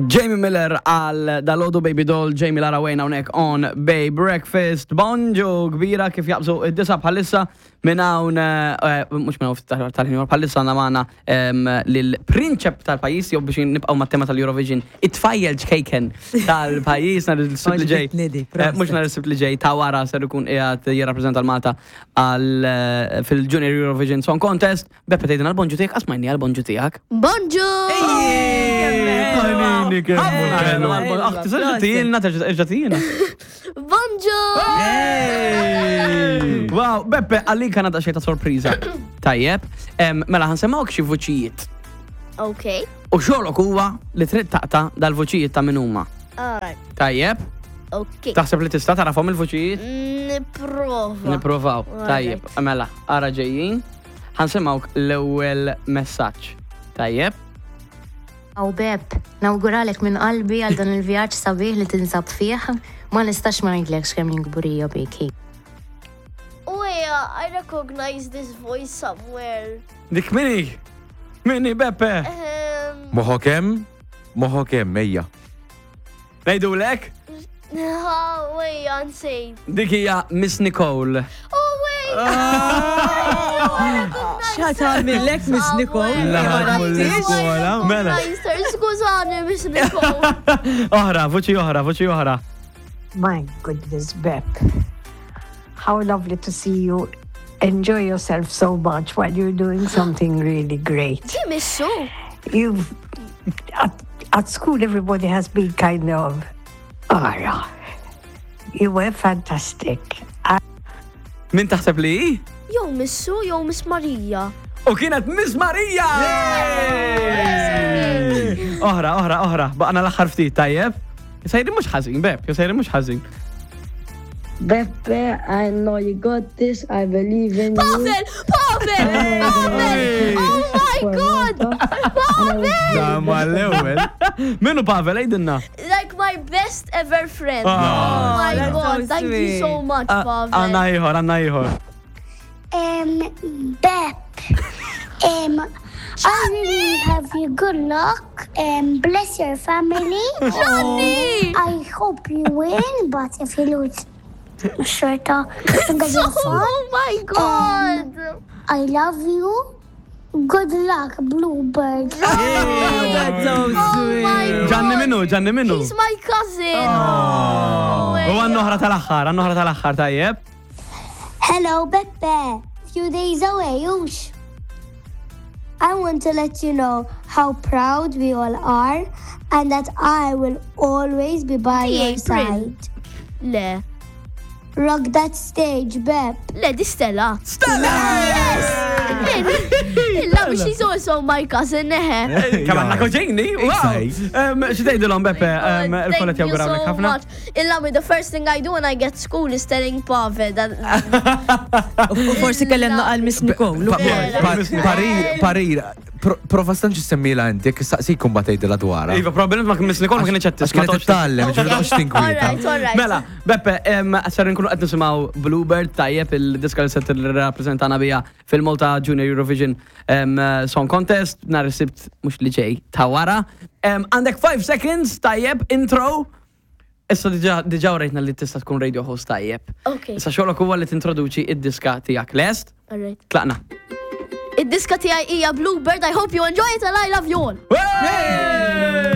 Jamie Miller għal dalodu Baby Doll, Jamie Lara Wayne hawnhekk on Bay Breakfast. Bonġu kbira kif jaqbżu id-disa bħalissa minn hawn eh, mhux minn hawn tal-ħin bħalissa għandna magħna lill-prinċep tal-pajjiż jew biex nibqgħu mat-tema tal-Eurovision, it-tfajjel ċkejken tal-pajjiż nhar is-Sibt li ġej. Eh, mhux nhar is-Sibt li ġej ta' wara ser ikun qiegħed jirrappreżenta l-Malta għal eh, fil-Junior Eurovision Song Contest. Beppe tgħidilna l-bonġu tiegħek, qas majni għall-bonġu tiegħek. Bonġu! Panini kemm ħelu. Tista' tgħidilna, terġa' tgħidilna. Bonġu! Wow, Beppe, għalik għandna daqsxejn ta' sorpriża. Tajjeb, mela ħansemmgħuk xi vuċijiet. Ok. U xogħlok huwa li trid taqta' dal-vuċijiet ta' min huma. Alright. Tajjeb? Ok. Taħseb li tista' tarafhom il-vuċijiet? Nipprova. Nipprovaw. Tajjeb, mela, ara ġejjin. Ħa nsimgħuk l-ewwel messaġġ. Tajjeb? Aw Beb, nawguralek minn qalbi għal dan il-vjaġġ sabiħ li tinsab fih. Ma nistax ma ngħidlekx kemm jien kburija bik. Uja, I recognize this voice somewhere. Dik minni? Minni Beppe? Ehm. Moħok hemm? Moħok hemm, ejja. Ngħidulek? Ejja, nsejt. Dik hija Miss Nicole. Oh, wait! Xa tagħmillek Miss Nicole? L-iskola. Mela. Skużani, Miss Nicole. Oħra, vuċi oħra, vuċi oħra. My goodness, Beb. How lovely to see you enjoy yourself so much while you're doing something really great. Missu. You've at, at school everybody has been kind of ara. You were fantastic. Min taħseb li hi? Jew Missu jew Miss Marija. U kienet Miss Marija! Oħra, oħra, oħra, baqna l-aħħar ftit tajjeb. Sejrin mhux ħażin, Beb, sejrin mhux ħażin. Beppe, I know you got this, I believe in you. Pavel! Pavel! Pavel! Oh my god! Pavel! Da ma l-ewwel. Minu Pavel, għidilna. Like my best ever friend. Oh, Oh my that's god, so thank you so sweet. much, Pavel. Għanna ieħor, għanna ieħor. Um, Bep. Um, I really have you good luck. Um, bless your family. Johnny! I hope you win, but if you lose, xorta, it's gonna be fun. Oh my god! I love you. Good luck, Bluebird. Oh, that's so Oh my sweet. god! Ġanni minnu, ġanni minnu. He's my cousin! Oh, U għanna oħra tal-aħħar, għanna oħra tal-aħħar tajjeb. Hello, Beppe. Few days away, oosh. I want to let you know how proud we all are and that I will always be by Di your April. side. Le, Rock that stage, Bep. le, di Stella. Stella! Yes! Illa, she's also my cousin, eħe. Kemm għandna koġini, wow! Xi tgħidilhom Beppe, Oh, il-kollet Thank you jawgurawlek so ħafna. much. Illa, the first thing I do when I get school is telling Pavel that U forsi kellemna għal Miss Nicole. ukoll. Parir, parir, prova stanċi semmila inti, jekk saqsikum ba tgħidilha dwarha. Iva, probabbilment ma Miss Nicole ma kienx qed Għax tisma' kienet titgħallem, ġifieri toqgħodx tinkwieta. Alright, alright. Mela, Beppe, em, ser nkunu qed nisimgħu Bluebird tajjeb il-diska li se tirrappreżentana bija fil-Malta Junior Eurovision em, Song Contest nhar is-Sibt mhux li ġej ta' wara. Em, Għandek 5 seconds tajjeb intro. Issa diġà diġà urejtna li tista' tkun radio host tajjeb. Okay. Issa xogħlok huwa li tintroduċi id-diska tiegħek lest. Alright. Tlaqna. Id-diska tiegħi hija Bluebird. I hope you enjoy it and I love you all. Hey!